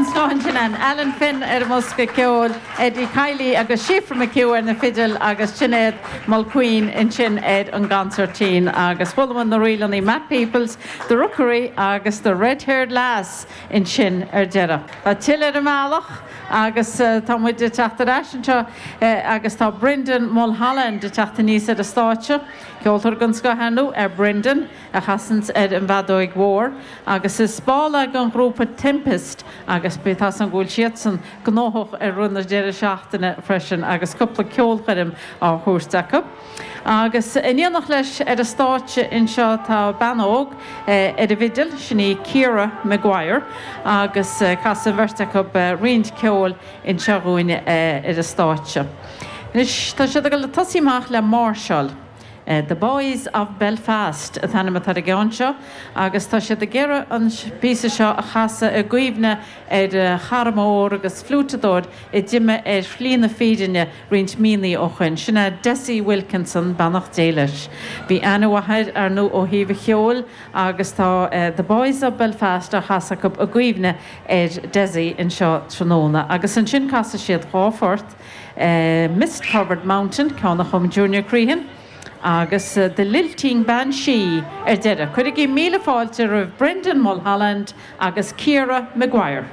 den scoth ansin ann, Alan Finn ar an mbosca ceoil, Eddie Kiely agus Síofra McHugh ar na fidil agus Sinéad Mulqueen ansin ar an gconsairtín. Agus chuala muid na ríleanna Matt Peoples, The Rookery agus The Red Haired Lass ansin ar deireadh. Tá tuilleadh ar an mbealach agus tá muid ag teacht ar ais anseo agus tá Brendan Mulholland ag teacht aníos ar an stáitse. Ceoltóir den scoth ar ndóigh é Brendan. a chasanns ar an bhfeadóig mhór agus is ball é den ghrúpa Tempest agus tá 's agam go bhfuil siadsan gnóthach i rith na deireadh seachtaine freisin agus cúpla ceolchoirm á thabhairt acu. Agus in éineacht leis ar an stáitse anseo tá bean óg ar an bhfidil, sin í Ciara Maguire agus casfaidh an bheirt acu roinnt ceoil anseo dhúinn ar an stáitse. Anois tá siad ag dul ag tosaí amach le máirseáil. The Boys of Belfast an t-ainm atá ar an gceann seo agus tá siad ag iarraidh an píosa seo a chasadh i gcuimhne ar chara mór agus fliúiteadóir a d'imigh ar shlí na fírinne roinnt míonna ó shoin. Sin é Dessie Wilkinson, beannacht Dé leis. Bhí aithne mhaith air, ar ndóigh, ó thaobh an cheoil agus tá The Boys of Belfast á chasadh acu i gcuimhne ar Dessie anseo tráthnóna. Agus ansin casfaidh siad dhá phort. Mist Covered Mountain, ceann a chum Junior Crehan, agus The Lilting Banshee ar deireadh. Cuirigí míle fáilte roimh Brendan Mulholland agus Ciara Maguire.